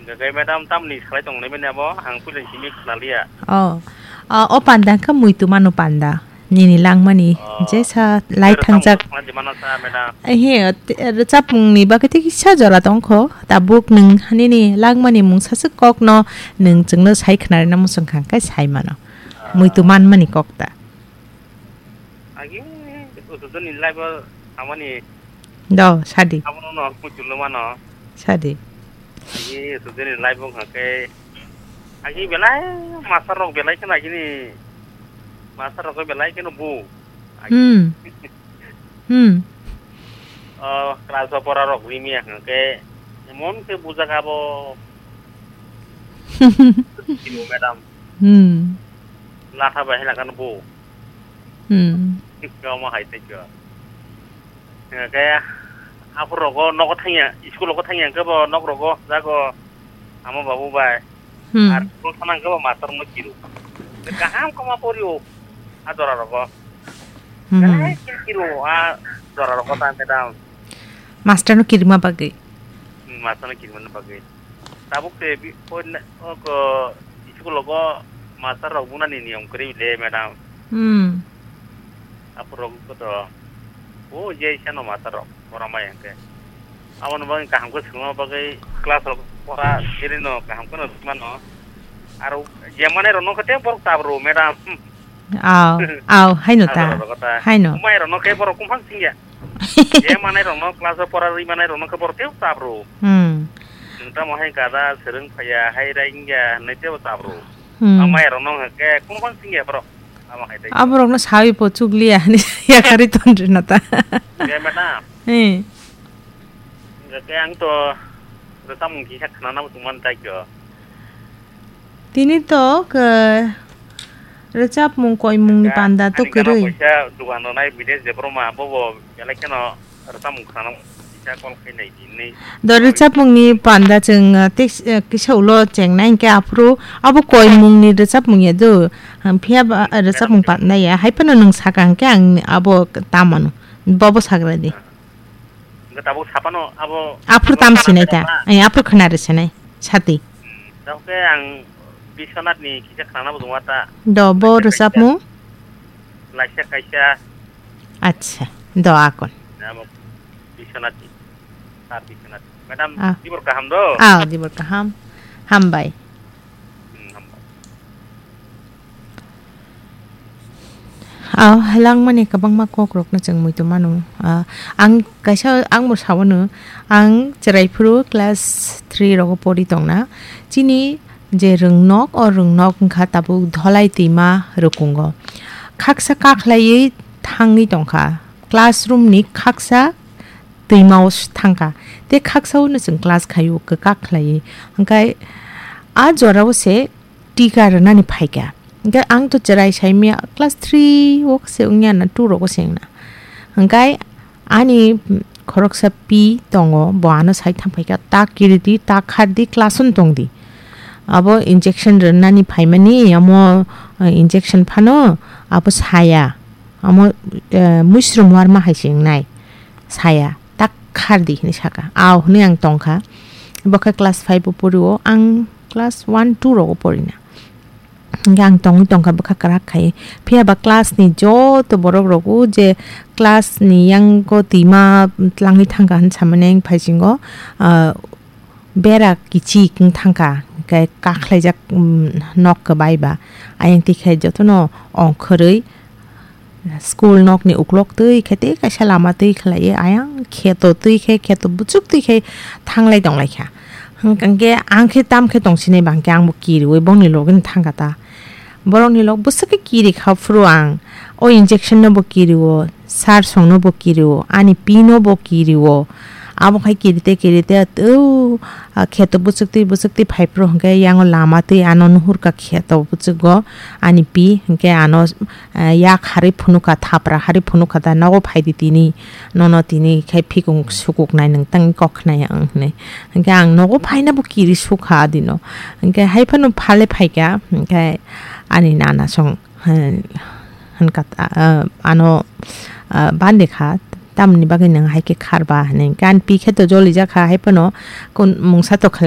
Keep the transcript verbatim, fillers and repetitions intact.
Hwnkhe madam tamni salai tongnai mani abo, ang puila simi khwnaliya. Oh. Ah, o panda khe muitu mano panda. Nini langmani Oh. jesa lai Rwchapmung thangjak. Khwna di mano sa, madam. Ehe, te-, rwchapmungni bagwi tei kisa jora tongkho. Tabuk nwng nini langmani mungsa swk kokno nwng chwngno sai khwnarina muchung kha khe sai mano. Muitu manmani kok ta. Agi, usudoni live o samani Do, sadi. Abono no muchungno mano. Sadi. Agi, usudoni live o hwnkhe. Agi belai master rok belai kheno agini master rok belai kheno bu. Agi. Hmm. Hmm. O class o pora rok rimi hwnkhe emon khe bujak abo. Madam. Hmm. Latha bai hela kan bu. Hmm. Kamo hai tei kyo. Kaya aphur rogo nogo thangya, school rogo thangya khe bo nok rogo jago ama babu bai. Hmm. Ar school thana khe bo master mo kiru. Kaham koma porio a jora rogo. Hmm. Kaham kiru a jora rogo ta madam. Master no kirima bagwi. Hmm, master no kirima bagwi. Tabuk se bi-, o na-, o ko, school rogo master rok bunani niyom kwrwi le, madam. Hmm. Aphuru rok ko to, o je sano master rok, pora mai hwnkhe. Aboni bagwi kaham khe swngma bagwi class rok pora, bini no kaham kheno rwmano. Aro je manai rok no khe borok tabru, madam. Aw, aw, haino ta. Aro rok ta. Haino. Umai rok no khe borok kumphang singya. Je manai rok no class o pora rwi manai rok no khe borok tei tabru. Hmm. Nwng tamo hai gada swrwng phaiya, hai raingya hwnwi teibo tabru. Hmm. Ang maya rokno hwnkhe kunu bang singya borok. Amo hai tei. Aborokno sawi po chukliya hwnwi yakarwi tonrwna ta. Khe madam. Eh. Hwnkhe ang to rwchapmung kisa khwnanabo tongmani tai kyo. Tini to khe rwchapmung koimungni panda to kwrwi. Ani gana kaisa dugan rwnai bides de borok ma bobo belai kheno rwchapmung khwnanw kisa call khainai di hinwi. Do rwchapmungni panda chwng, uh, tei, uh, kisa ulo chengnai hinkhe aphuru abo koimungni rwchapmung ya do. Phiya ba, uh, rwchapmung panda ya. Hai phano nwng saka hinkhe ang abo tamano. Bobo sagra di. Hwnkhe tabuk saphano abo. Aphuru tam sinai ta. Ai, aphuru khwna rw sinai. Sati. Hmm, tabuk khe ang Biswanath ni kisa khwnanabo tongma ta. Do, bo rwchapmung? Laisa kaisa. Acha, do akon. Abo Biswanath ni. Sir Biswanath. Madam, ah. Dibor kaham do? Ah, dibor kaham. Hambai. Hmm, hambai. Ah, langmani kwbangma kokrokno chwng muitu mano. Ah, ang kaisa, ang bo sawano, ang chwrai phuru class three rogo pori tongna. Chini je rwngnok, o rwngnok wngkha tabuk Dholai twima rwkungo. Khaksa kakhlaiwi thangwi tongkha. Classroom ni khaksa twima o thangkha. Tei khaksa o no chwng class khaio, kwkak khlaiwi. Hwnkhe a jora o se tika rwnani phaikha. Hwnkhe ang to chwrai saimya class three o se wngya na, two rogo se wngna. Hwnkhe ani khoroksa pi tongo, bo ano sai thang phaikha, "Ta kiridi, ta khardi, class-o tongdi." Abo injection rwnani phaimani, amo, eh, injection phano abo saya. Amo, eh, muisrum warma hai se wngnai, saya, "Tak khardi," hinwi saka. "Aw," hinwi ang tongkha. Bo khe class five o porio, ang class one, two rogo porina. Hingke ang tongwi tongkha bwkha kwrak khai. Phiya ba class ni joto borok rok o je class ni yango twima tlangwi thangkha hinwi samani ang phaisingo, ah, bera kichik wng thangkha, hingke kakhlaijak, um, nok kwbai ba. Ayang tikhe jotono ongkhorwi school nokni uklok twi khe tei kaisa lama twi khlaiwi ayang kheto twi khe, kheto buchuk twi khe thanglai tonglaikha. Hwnkhe ang khe tam khe tongsinai ba hwnkhe ang bo kiriui bongni logino thangkha ta. Borokni lok bwswk khe kiri kha phuru ang. O injection no bo kiri o, sar song no bo kiri o, ani pi no bo kiri o. Abo khai kiri te kiri te, o, a, kheto bwswk twi bwswk twi phai phuru hwnkhe yango lama twi ano nuhur kha kheto bwswk go ani pi hwnkhe ano, a, yak harwi phunuk kha, thapra harwi phunuk kha ta, nogo phai di tini, nono tini khai phikung sukuk nai nwng tang kok khnai ang hinwi. Hwnkhe ang nogo phaina bo kiri sukha adino. Hwnkhe hai phano phale phaikha, hwnkhe ani nana song, hwn-, hwnkha, ah, ano, ah, bande kha, tamni bagwi nwng hai khe kharba hinwi. Hwnkhe ani pi khe to jolijakha, hai phano kun mungsa to khlai